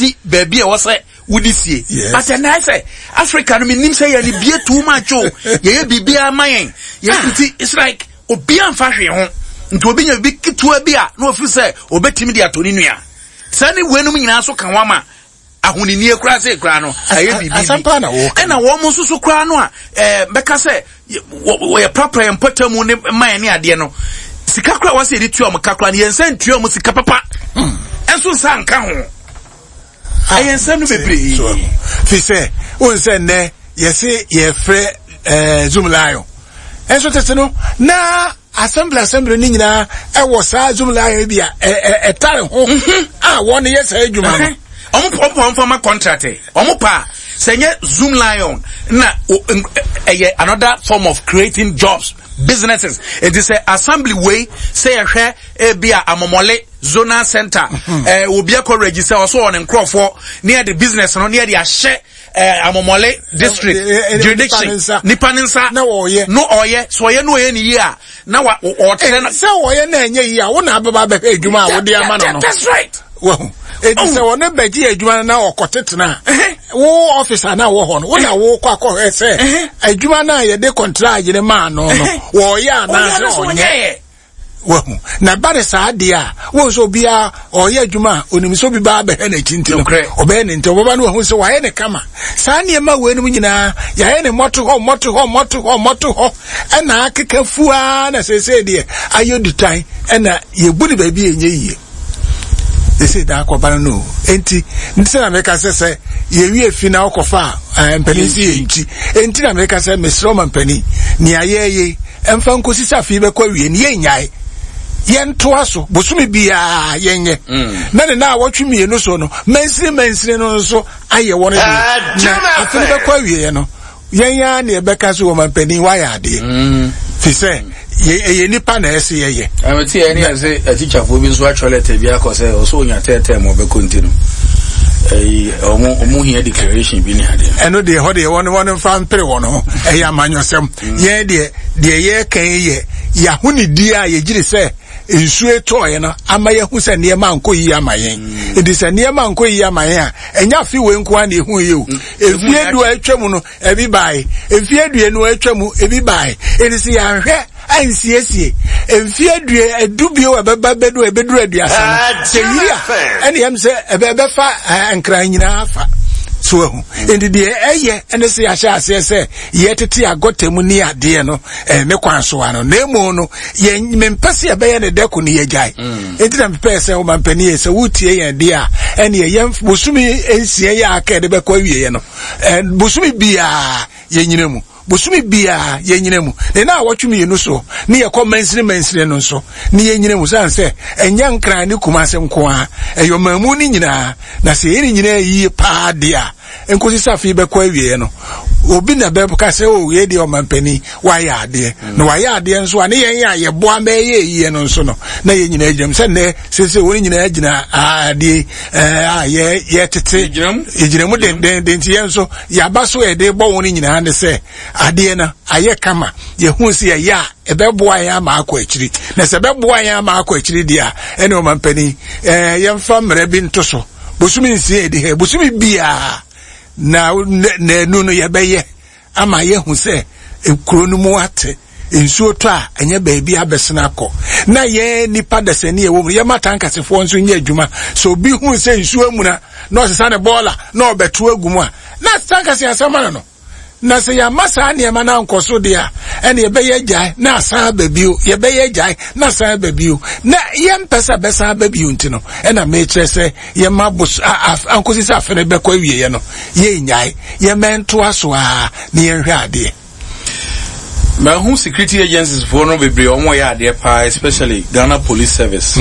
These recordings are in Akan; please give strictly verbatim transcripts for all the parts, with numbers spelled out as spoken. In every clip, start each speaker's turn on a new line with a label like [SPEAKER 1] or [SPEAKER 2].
[SPEAKER 1] si baabi a ɛwɔ sɛ wodi sie.
[SPEAKER 2] Yes.
[SPEAKER 1] But ɛnna sɛ Africa no, menim sɛ yɛne bie too much o, yɛyɛ biribiara ma yɛn yɛ, nti it's like obiara mfa hwee ho, nti obi nya biribi ketewa bi a na ofiri sɛ obetumi de ato ne nua. Saa ne weinom nyinaa so ka ho ama ahoninie koraa sɛ koraa no ɛyɛ biribi
[SPEAKER 2] Asɛm paa na wɔka.
[SPEAKER 1] Ɛna wɔn nso so koraa no a ɛɛ bɛka sɛ yɛ- wɔ- wɔyɛ prapra yɛn mpɔtam ne mma yɛn ne adeɛ no, sika koraa wɔsɛ yɛde tua wɔn ka koraa no, yɛn nsa ntua wɔn sika papa ɛnso nsa nka ho. Ɛyɛ nsɛm no bebree.
[SPEAKER 2] So fi sɛ wohu sɛ nnɛ yɛse yɛfrɛ eh, Zoomlion, ɛnso tete no na assembly assembly no nyinaa ɛwɔ saa Zoomlion bi a ɛ- ɛ- ɛtare ho a wɔn yɛ saa adwuma no.
[SPEAKER 1] ɔmo ɔmo ɔmo fama contract, ɔmo pa sɛ nyɛ Zoomlion na o- n- ɛyɛ another form of creating jobs, businesses. Eti sɛ assembly wei sɛ yɛhwɛ ebi a Amomɔle zonal center, ɛɛ obi akɔ register ɔso wɔ ne nkorɔfoɔ ne yɛde business no ne yɛde ahyɛ ɛɛ Amomɔle district
[SPEAKER 2] ɛ- ɛ- ɛ-
[SPEAKER 1] jurisdiction.
[SPEAKER 2] Nipa ne nsa.
[SPEAKER 1] Nipa ne nsa.
[SPEAKER 2] Na wɔyɛ.
[SPEAKER 1] No, ɔyɛ so ɔyɛ no, ɔyɛ ne yie a na wa ɔkyerɛ no.
[SPEAKER 2] Sɛ wɔyɛ na ɛnyɛ yie a, wo na abɛba abɛhwɛ adwuma a wode ama no no
[SPEAKER 1] That's right.
[SPEAKER 2] Wahu, eti sɛ wɔne bɛgye adwuma no na ɔkɔtetena a,
[SPEAKER 1] Ɛhɛ.
[SPEAKER 2] wo officer na wɔ hɔ no, wo na wokɔ akɔhwɛ sɛ
[SPEAKER 1] Ɛhɛ.
[SPEAKER 2] adwuma no a yɛde contract ne maa no no
[SPEAKER 1] Ɛhɛ.
[SPEAKER 2] wɔyɛ
[SPEAKER 1] ɔyɛ
[SPEAKER 2] anaasɛ
[SPEAKER 1] no so
[SPEAKER 2] ɔnyɛ.
[SPEAKER 1] ɔnyɛ.
[SPEAKER 2] Wahu, na ba ne saa deɛ a, wɔn sɛ obiara ɔyɛ adwuma a onim sɛ obi ba abɛhwɛ n'akyi, nti no
[SPEAKER 1] Nokorɛ.
[SPEAKER 2] ɔbɛyɛ ne nti ɔbɛba no wahu sɛ wayɛ ne kama. Saa nneɛma wei nom nyinaa yɛayɛ ne mmɔto hɔ, mmɔto hɔ, mmɔto hɔ, mmɔto hɔ, ɛna akeka fuaa na seesei deɛ ayɛ dutan, ɛna yɛbu ne baabi a ɛnyɛ yie. Ɛsɛ da akɔba no no enti nti sɛ na meka sɛ sɛ yɛwie fi na wokɔfa a eh, mpanin si yɛ nkyi. Enti na meka sɛ mesrɛ ɔma mpanin nea yɛyɛ ɛmfa nkɔsi sɛ afei bɛkɔ awie ne yɛnnyae, yɛntoa so bosome biara yɛnyɛ na ne na awɔtwe mmienu so no, mansini mansini no nso ayɛ wɔn de, na afei no bɛkɔ awieɛ no, yɛn ya ne yɛbɛka so wɔ mampanin wayɛ adeɛ, fi sɛ yɛ- ɛyɛ nipa na ɛsɛ yɛyɛ.
[SPEAKER 1] Ɛmɛ ti yɛ ne yɛ sɛ atikyafoɔ bi nso atwerɛ letter bi akɔ sɛ ɔsɛ onya tɛɛtɛɛ ma ɔbɛkɔ, nti no ɛyi ɔmo ɔmo hia declaration bi ne adeɛ.
[SPEAKER 2] Ɛno deɛ, hɔ deɛ wɔn wɔn mfa mpere wɔn ho, ɛyɛ amanyɔsɛm. Yɛn deɛ, deɛ yɛreka yi yɛ yɛahonidie a yɛgyiri sɛ nsuo etɔɔyɛ no ama yɛhu sɛ nneɛma ankɔ yie ama yɛn. Nti sɛ nneɛma ankɔ yie ama yɛn a, ɛnyɛ afe wei nko ara na ehu yie o. Efie du a atwa mu no ebi baae, efie aduonu a atwa mu ebi baae. Nti sɛ yɛanhwɛ ansiesie mfie adue edu bio a ɛbɛba bɛdu ebɛduru aduasa no, sɛ yiri a ɛne yɛm sɛ ɛbɛ ɛbɛfa ɛɛ Nkran nyinaa fa so ahu. Nti deɛ ɛyɛ ɛne sɛ yɛahyɛ aseɛ sɛ yɛtete agɔta mu ne adeɛ no ɛɛ ne kwan so ano, na emu no yɛn mempɛ sɛ yɛbɛyɛ ne dɛko ne yɛgyae. Nti na mepɛ sɛ ɔma mpanin yɛ sɛ wotie yɛn deɛ a, ɛne yɛn bosome nsia yɛ aka yɛde bɛkɔ awieɛ no, ɛɛ bosome biara yɛnyina mu, bosome biara yɛnyina mu, ne na awɔtwe mmienu so ne yɛkɔ mansini mansini no nso ne yɛnyina mu, san sɛ ɛnyɛ Nkran ne Kumase nko a, ɛyɛ ɔmanmu no nyinaa. Na sɛ yɛn nyinaa yie paa deɛ a, nkosi sɛ afei bɛkɔ awieɛ no, obi na bɛka sɛ o yɛ deɛ ɔmampanin wayɛ adeɛ na wayɛ adeɛ nso a, ne yɛn a yɛboa ma ɛyɛ yie no nso no, na yɛn nyinaa gyina mu sɛ nnɛ sese wɔn nyinaa gyina adeɛ ɛɛ a yɛ yɛtete.
[SPEAKER 1] Yɛgyina mu.
[SPEAKER 2] Yɛgyina mu dendenden, nti yɛn nso yɛaba so yɛde bɔ wɔn nyinaa ne sɛ adeɛ no ayɛ kama. Yɛhu sɛ yɛyɛ a, ɛbɛboa yɛn ama akɔ akyiri, na sɛ ɛbɛboa yɛn ama akɔ akyiri deɛ a, ɛne ɔmampanin ɛɛ yɛmfa mmerɛ bi nto so, bosome nsia edi ha, bosome biara na naanu no yɛbɛyɛ ama yɛhu sɛ kuro no mu ate, nsuo tɔ a ɛnyɛ baabi abɛsena akɔ, na yɛn nipa dasani ɛwɔ mu, yɛma tankasefoɔ nso nyɛ adwuma. Sɛ obi hu sɛ nsuo amuna na ɔsesa ne bɔɔla na ɔbɛto agu mu a, na tankase asɛm ano no. Na sɛ yɛama saa nneɛma no ankɔ so deɛ a, ɛne yɛbɛyɛ gyae na asan aba bio, yɛbɛyɛ gyae na asan aba bio, na yɛmpɛ sɛ bɛsan aba bio. Nti no ɛna mekyerɛ sɛ yɛma bos ankosi sɛ afe no bɛkɔ awieɛ no, yɛnnyae, yɛmɛntoa so a na yɛnhwɛ adeɛ.
[SPEAKER 1] Mahu security agencies foɔ no bebree, wɔn yɛ adeɛ paa, especially Ghana Police Service.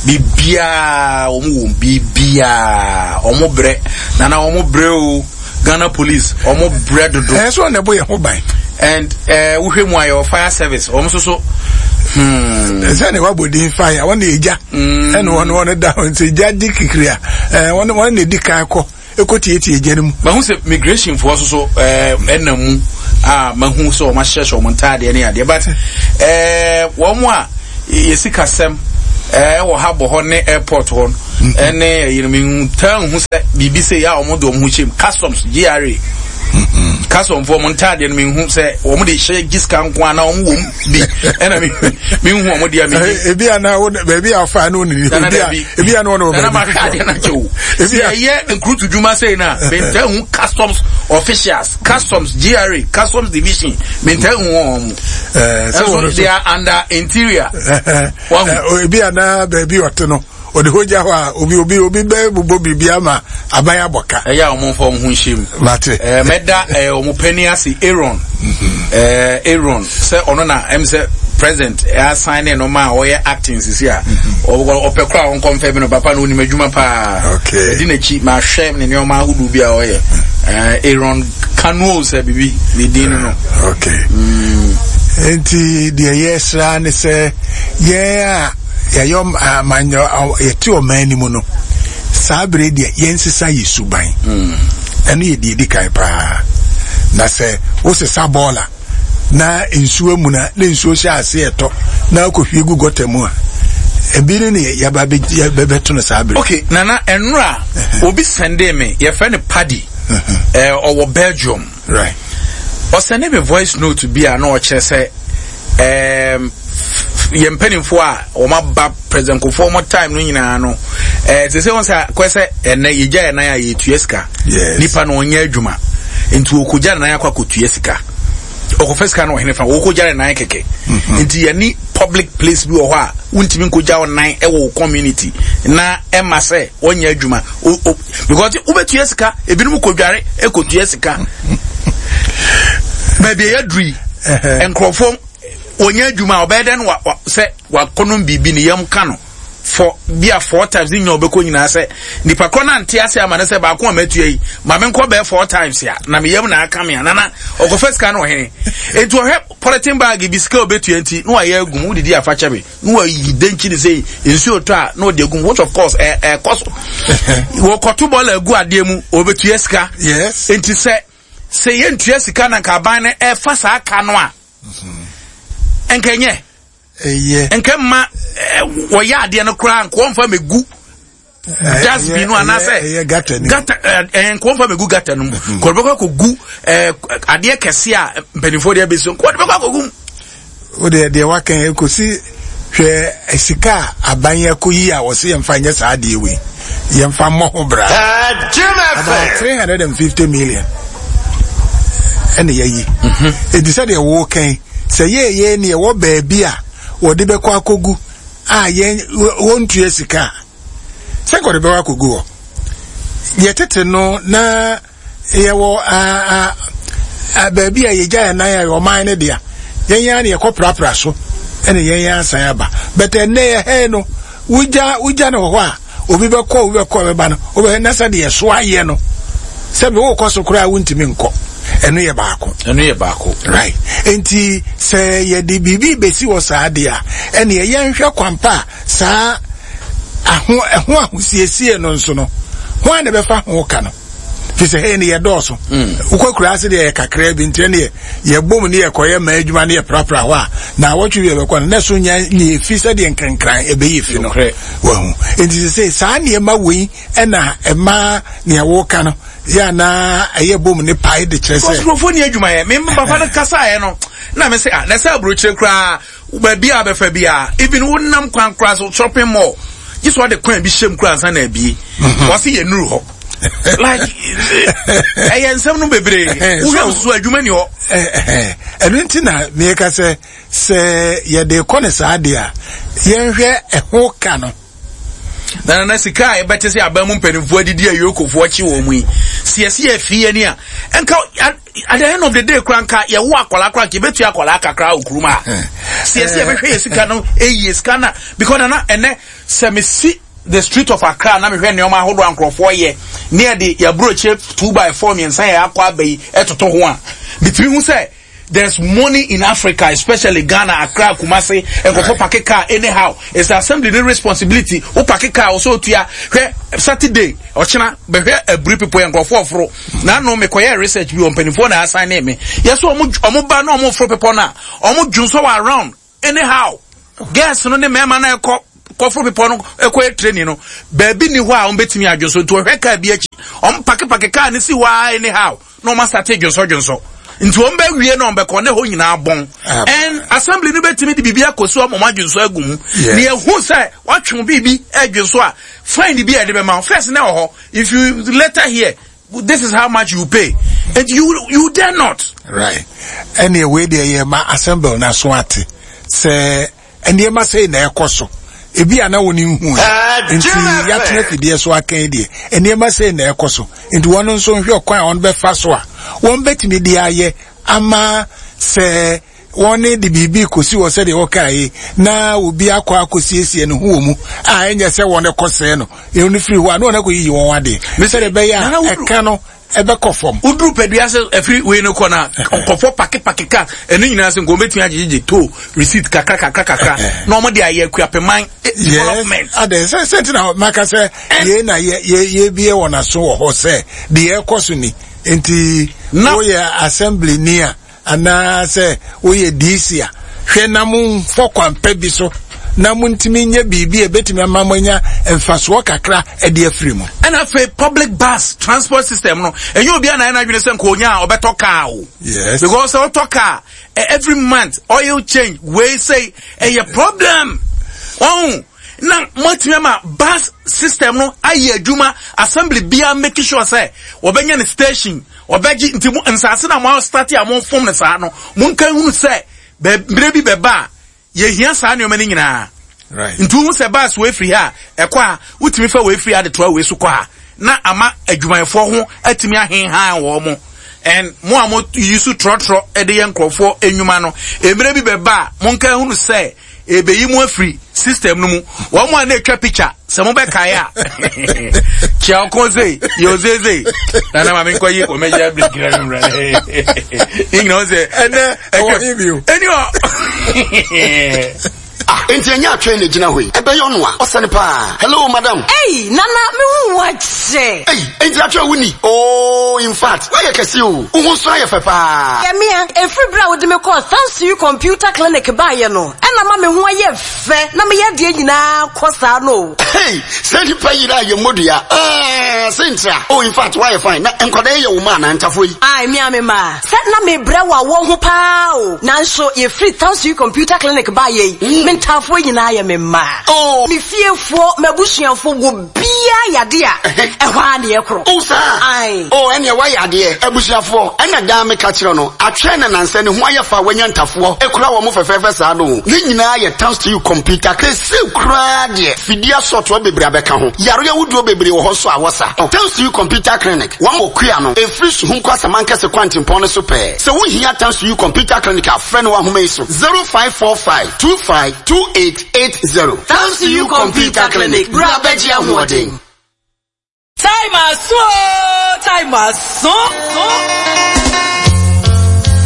[SPEAKER 1] Biribiaa wɔn wɔ, biribiaa wɔn brɛ nana, wɔn brɛ o. Ghana Police, wɔn brɛ dodo.
[SPEAKER 2] Ɛyɛ sɛ ɔna ɛbɔ yɛn ho ban.
[SPEAKER 1] And ɛɛ wohwɛ mu a, yɛwɔ fire service, wɔn nso so. Hmm.
[SPEAKER 2] Sɛ ne wabɔ din fire, wɔn na egya ɛna wɔn wɔn da hɔ, nti egya di kikiri a, ɛɛ wɔn wɔn na edi kan kɔ ekɔ tietie egya no mu.
[SPEAKER 1] Mahu sɛ migration foɔ nso so ɛɛ ɛnam mu a, mahu sɛ wɔn ahyehyɛ wɔn ntaadeɛ ne adeɛ, but ɛɛ wɔn a yɛsi kasɛm ɛɛ wɔ ha bɔ hɔ ne airport hɔ no ɛne ɛyi no, mehu taa nhu sɛ biribi sɛ yɛ a wɔn de wɔn ho hyɛm customs G R A custom foɔ, wɔn ntaadeɛ no mehu sɛ wɔn de hyɛ gye sika nko ana wɔn wɔ mu bi, ɛna me mehu wɔn deɛ me
[SPEAKER 2] Ebi ana wo baabi a ɔfa no ni
[SPEAKER 1] Nana.
[SPEAKER 2] ebi a
[SPEAKER 1] Dabi.
[SPEAKER 2] Ebi a no no
[SPEAKER 1] Nana, ma hwɛ adeɛ na kyɛ o.
[SPEAKER 2] Ebi a-
[SPEAKER 1] Sɛ yɛyɛ nkurutu dwuma sei na mentaa hu customs officials, customs, G R A customs division, mentaa hu wɔn mo.
[SPEAKER 2] Ɛɛ sɛ wɔn
[SPEAKER 1] ɛnso they are under interior. Wahu.
[SPEAKER 2] Ɛɛ, ebi ana baabi ɔte no ɔde hɔ gya hɔ a obi obi obi bɛ bobɔ biribi ama aban abɔ ka.
[SPEAKER 1] Ɛyɛ a wɔn mfa wɔn ho nhyɛ mu.
[SPEAKER 2] Mate.
[SPEAKER 1] ɛɛ mɛda ɛɛ wɔn panyin ase, Aaron, ɛɛ Aaron, sɛ ɔno na ɛm sɛ president ɛasan ne no ma a ɔyɛ acting sisi a ɔ- ɔpɛ kora a ɔnkɔmfɛ bi no, papa no onim adwuma paa.
[SPEAKER 2] Okay.
[SPEAKER 1] Ɛdi n'akyi, ma ahwɛ ne nneɛma ahodoɔ bi a ɔyɛ. ɛɛ Aaron Kanuo sɛ bibi ne din no no.
[SPEAKER 2] Okay, nti deɛ yɛsra ne sɛ yɛn a yɛyɛ ɔm- amanyɔ ɔ- yɛte ɔman no mu no, saa bere deɛ yɛnsesa yɛ suban. Ɛno yɛ deɛ ɛdi kan paa, na sɛ wosesa bɔɔla na nsuo mu na na nsuo hyɛ ase ɛtɔ na akɔhwie gu gutter mu a, ebi ne ne yɛba bɛ- yɛbɛto no saa bere.
[SPEAKER 1] Okay, Nana, ɛnura obi send me, yɛfrɛ no Paddy, ɛɛ ɔwɔ Belgium.
[SPEAKER 2] Right
[SPEAKER 1] ɔsend me voice note bi a na ɔkyerɛ sɛ ɛɛm yɛn mpanimfoɔ a wɔn aba, President Kufuor wɔn time no nyinaa no, ɛɛ te sɛ wɔn sɛ kɔ sɛ ɛnɛ yɛgya yɛn nan a yɛtua sika.
[SPEAKER 2] Yes.
[SPEAKER 1] Nipa no ɔnyɛ adwuma nti okogya ne nan akɔ akɔtua sika, ɔkɔfɛ sika no ɔhene fa wɔkɔgya ne nan kɛkɛ. Nti yɛne public place bi wɔ hɔ a wontumi nkɔgya wo nan ɛwɔ wo community na ɛma sɛ ɔnyɛ adwuma o o because wobɛtua sika, ebinom kɔdware ɛkɔtua sika. Baabi a yɛaduru yi, nkurɔfoɔ wɔnyɛ adwuma a ɔbɛyɛ dɛn wa wa sɛ wakɔnom biribi ne yam ka no for bi a four times ne nyina ɔbɛkɔ nyinaa, sɛ nipa korɔ no ante ase ama ne sɛ baako a matua yi ma menkɔ bɛɛ four times a na meyam na aka me a. Nana, ɔkɔfa sika no ɔhene enti ɔhwɛ polythene bag bi, sika a ɔbɛtua nti na wayɛ agum, wodidi afa kyɛ me na wayi denkyi ne sɛ nsuo tɔ a na ɔde agum, which of course ɛ ɛkɔ so, wɔkɔto bɔɔla agu adeɛ mu, ɔbɛtua sika.
[SPEAKER 2] Yes
[SPEAKER 1] nti sɛ sɛ yɛntua sika na nka aban no ɛfa saa ka no a, nkɛnyɛ
[SPEAKER 2] Ɛyɛ.
[SPEAKER 1] Nkɛ mma ɛ, wɔyɛ adeɛ no koraa nka wɔmfa mɛgu dustbin no anaasɛ
[SPEAKER 2] ɛyɛ gutter ni.
[SPEAKER 1] Gutter ɛ ɛ nka wɔmfa mɛgu gutter no mu, nka wɔde bɛkɔ akɔgu ɛ adeɛ kɛse a mpanimfoɔ de abɛsi, nka wɔde bɛkɔ akɔgu mu.
[SPEAKER 2] O deɛ deɛ waka yi kɔsi hwɛ, sika a aban yɛ kɔ yi a wɔsi yɛmfa nyɛ saa adeɛ wei, yɛmfa mmɔ ho bra, about three hundred and fifty million ɛna yɛyi. Eti sɛ deɛ wɔɔkan sɛ yɛyɛ ne yɛwɔ baabi a wɔde bɛkɔ akɔgu a yɛn wɔntua sika a, sɛ nka wɔde bɛkɔ akɔgu hɔ. Yɛtete no na yɛwɔ a a baabi a yɛgya yɛn nan a yɛ ɔman no dea, yɛn yɛn na yɛkɔ prapra so ɛna yɛn yɛn asan aba. Bɛtɛ nnɛ yɛ hɛn no, wogya wogya no wɔ hɔ a, obi bɛkɔ, obi bɛkɔ bɛba no, wobɛhwɛ na sɛ deɛ so ayɛ no, sɛbi wokɔ so koraa wontumi nkɔ. Ɛno yɛ baako.
[SPEAKER 1] Ɛno yɛ baako.
[SPEAKER 2] Right, nti sɛ yɛde biribi bɛsi wɔ saa deɛ a, ɛneɛ yɛnhwɛ kwampa a saa aho ɛho ahosiesie no nso no ho a na bɛfa ho ka no, fi sɛ hɛn yɛ dɔɔso. Wokɔ kura ase deɛ yɛ kakra bi, nti ɛneɛ yɛbom ne yɛkɔyɛ mmaa adwuma ne yɛprapra hɔ a, na awɔtwe bi yɛbɛkɔ no na so nya nyɛ fi sɛdeɛ nkrenkran ɛbɛyɛ fi no.
[SPEAKER 1] Nokorɛ.
[SPEAKER 2] Wahu, nti sɛ sɛ saa nneɛma wei ɛna ɛma nea wɔka no yɛ anaa ɛyɛ bom ne pae de kyerɛ sɛ
[SPEAKER 1] nkurɔfoɔ ni adwuma yɛ. Me papa no kasaeɛ no na me sɛ ah, na sɛ aburokyire koraa baabi a bɛfa bi a, even wonam kwan koraa so, shopping mall gye sɛ ɔde kwan bi hyɛm koraa ansa na abie, wɔse yɛ nuru hɔ, like ɛyɛ nsɛm no bebree wohwɛ so adwuma ni hɔ.
[SPEAKER 2] Ɛno nti na meka sɛ sɛ yɛde kɔ ne saa deɛ a, yɛnhwɛ ɛho ka no.
[SPEAKER 1] Na na sika a yɛbɛte sɛ aban mu mpanimfoɔ adidi a yokofoɔ kye wɔn mu yi, sɛ yɛsi yɛ fie ani a, nka at the end of the day koraa nka yɛwo akwadaa koraa nka yɛbɛtua akwadaa kakra wɔ kurom a, sɛ yɛsi yɛbɛhwɛ yɛ sika no ɛyie sika na because nana, ɛnɛ sɛ mesi the street of Accra na mehwɛ nneɛma ahodoɔ a nkurɔfoɔ yɛ ne yɛde yɛaburokyire two by four mmiɛnsa yɛ akɔ aba yi ɛtoto ho a, bitumi hu sɛ there's money in Africa, especially Ghana, Accra, Kumasi. Nkurɔfoɔ park car anyhow. It's the assembly ne responsibility. Wo park car ɔsɛ otua. Hwɛ Saturday ɔkyena bɛhwɛ aburi people yɛ nkurɔfoɔ ɔforo. Na ano mekɔyɛ research bi wɔ mpanimfoɔ na asan ne me. Yɛsɛ ɔmo ɔmo ba na ɔmo foro pepɔ na ɔmo dwonsɔ wɔ around anyhow. Girls no ne mmarima na ɛkɔ kɔforo pepɔ no ɛkɔyɛ training no, baabi ni hɔ a wɔn bɛtumi adwo so, nti ɔhwɛ kaa bi akyi Ɔmo park park car ne si hɔ a anyhow na ɔmo asate dwonsɔ dwonsɔ. Nti wɔn bɛ wie na wɔn bɛ kɔ ne hɔ nyinaa bɔn. And assembly no bɛtumi de biribi akɔ so ama wɔn adwonsɔ agu mu. Ne ehu sɛ watwe biribi ɛdwonsɔ a, fine bi a yɛde bɛma first na wɔ hɔ. If you later here, this is how much you pay, and you you dare not.
[SPEAKER 2] Right, ɛnna wei deɛ yɛ ma assembly na so ate sɛ nneɛma sɛ na ɛkɔ so ebi a na wɔn nhu nti yɛatena fidie so aka yi deɛ, nneɛma sɛ na ɛkɔ so, nti wɔn nso nhwɛ kwan a wɔn bɛfa so a wɔn bɛtumi de ayɛ ama sɛ wɔn ne de biribi kɔsi wɔ sɛdeɛ wɔka yi na obi akɔ akɔsiesie ne ho wɔ mu a, ɛnyɛ sɛ wɔn kɔ sɛɛ no ɛno firi hɔ a na wɔn akɔ yiyi wɔn adeɛ sɛdeɛ ɛbɛyɛ a ɛka no ɛbɛkɔ fam.
[SPEAKER 1] Woduru Padua sɛ ɛfiri wei no kɔ na nkɔfɔ park park car ɛno nyinaa sɛ nkɔmɔ bɛtumi agyegyegye toll receipt kakra kakra kakra na wɔn de ayɛ Akuapeman development.
[SPEAKER 2] Ade sɛ sɛ ti na maka sɛ yei na yɛ yɛ yɛbie wɔn aso wɔ hɔ sɛ deɛ ɛkɔ so ni, nti woyɛ assembly ni a anaasɛ woyɛ D C a, hwɛ na momfɔ kwan pa bi so na montumi nyɛ biribi a ɛbɛtumi ama mo anya mfasoɔ kakra ɛde afiri mu.
[SPEAKER 1] Ɛna afei public bus transport system no, ɛnyɛ obi a na yɛn adwene sɛ nka onya a ɔbɛtɔ car o.
[SPEAKER 2] Yes.
[SPEAKER 1] Because sɛ ɔtɔ car, every month oil change wei sɛ ɛyɛ problem ɔn na moatumi ama bus system no ayɛ adwuma. Assembly biara make sure sɛ wɔbɛnya ne station ɔbɛgye, nti mo nsase na mo start a mo fom no saa no, mo nka hunu sɛ bɛ mmerɛ bi bɛba a yɛhia saa nneɛma no nyinaa.
[SPEAKER 2] Right.
[SPEAKER 1] Nti wohu sɛ bus wei firi ha a ɛkɔ a, wotumi fa wei firi ha de toa wei so kɔ a, na ama adwumayɛfoɔ ho atumi ahenhan wɔn mo. And mo a mo yi so trɔtrɔ de yɛ nkurɔfoɔ nnwuma no, mmerɛ bi bɛba a monka hunu sɛ ebeyi mu afiri system no mu. Wɔn mo a na etwa picture sɛ mo bɛkae a, kyia ɔkɔn sei yɛ ozeze nana maame nkɔ yi commercial break na mi wura ne nyinaa sɛ
[SPEAKER 2] ɛnɛ ɛwɔ he bio?
[SPEAKER 1] Ɛni hɔ.
[SPEAKER 3] Ah, enti ɛnyɛ atwɛn na gyina hɔ yi ɛbɛyɛ ɔno a ɔsɛne paa. Hello, madam.
[SPEAKER 4] Ei, Nana, mehu wo akyɛ.
[SPEAKER 3] Ei, enti atwɛn wo ni? Oh, in fact woayɛ kɛse o, wo ho nso ayɛ fɛ paa.
[SPEAKER 4] Yɛmea, ɛfiri berɛ a wode me kɔɔ Thanks You Computer Clinic baeɛ no, ɛna ma me ho ayɛ fɛ na meyɛ adeɛ nyinaa kɔ saa no.
[SPEAKER 3] Hey, sɛ nipa yere a yɛ mmɔdua sɛ ntira. Oh, in fact woayɛ fine. Na nkwadaa yɛ wo ma anaa ntafoɔ yi?
[SPEAKER 4] Ai, mea me ma sɛ na mebrɛ wɔ awɔ ho paa o, nanso yɛfiri Thanks You Computer Clinic baeɛ yi, me ntaafoɔ nyinaa yɛ me mma.
[SPEAKER 3] Oh.
[SPEAKER 4] Me fiefoɔ, m'abusuafoɔ, wɔ biaa yade a ɛhɔ a ne yɛkorɔ.
[SPEAKER 3] Oh, saa?
[SPEAKER 4] Ai.
[SPEAKER 3] Oh, ɛneɛ woayɛ adeɛ. Abusuafoɔ, ɛna daa meka kyerɛ no atwɛn na nansɛ ne ho ayɛ fa wanya ntafoɔ ɛkura wɔ mo fɛfɛɛfɛ saa no. Ne nyinaa yɛ Thanks To You Computer. Kɛse koraa deɛ, fidie asɔtoɔ bebree abɛka ho, yareɛ wodoɔ bebree wɔ hɔ so a wɔsa. Thanks To You Computer Clinic, wɔn wɔ kua no ɛfiri Suhum kɔ Asamankɛse kwantempɔn no so pɛɛ. Sɛ wohia Thanks To You Computer Clinic a, frɛ no wɔ ahoma yi so: zero five four five two five two eight eight zero. Thanks To You Computer Clinic, bra bɛgye ahoɔden.
[SPEAKER 5] Time aso, time aso.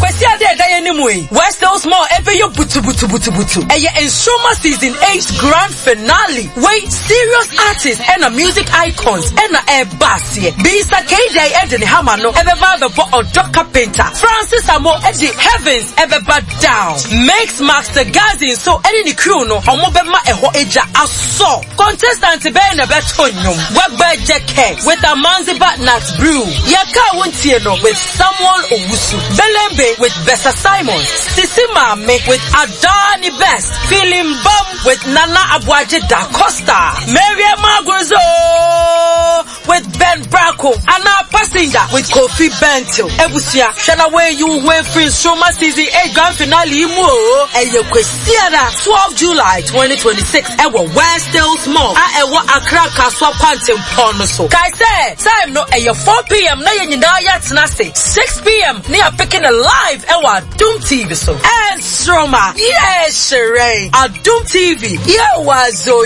[SPEAKER 5] Kwasi ade ɛda yɛn anim yi, West Hills Mall ɛbɛyɛ butubutubutubutu. Ɛyɛ Nsoroma season eight grand finale. Wei, serious artists ɛna music icons ɛna ɛba aseɛ. Bisa K J ɛde ne hama no ɛbɛba abɛbɔ. Ɔdɔ Carpenter, Francis Amo ɛde heavens ɛbɛba down. Mix Master Gazi nso ɛne ne crew no, ɔmo bɛma ɛhɔ agya asɔ. Contestant bɛyɛ na ɛbɛto nnwom. Wɛgbɛ Jɛkɛ with Amanziba Nat Brew, Yɛka Wontie no with Samuel Owusu, Belembe with Bessa Simon, Sisi Maame with Adani Best, Feeling Bum with Nana Abuaje Da Costa, Mariam Maguzo with Ben Braco, Anna Passenger with Kofi Bento. Ebusua, hwɛ na wɔayi wo ho afiri Nsoroma season eight grand finale yi mu o. Ɛyɛ Kwasiada twelve July twenty twenty-six ɛwɔ West Hills Mall a ɛwɔ Accra Kasoa kwantempɔn no so. Kae sɛ time no ɛyɛ four p m na yɛn nyinaa yɛatena ase. six p m ne yɛapeke no live ɛwɔ Adum T V so. Ɛnsoroma, yɛ hyerɛn. Adum T V, yɛ wɔ azo.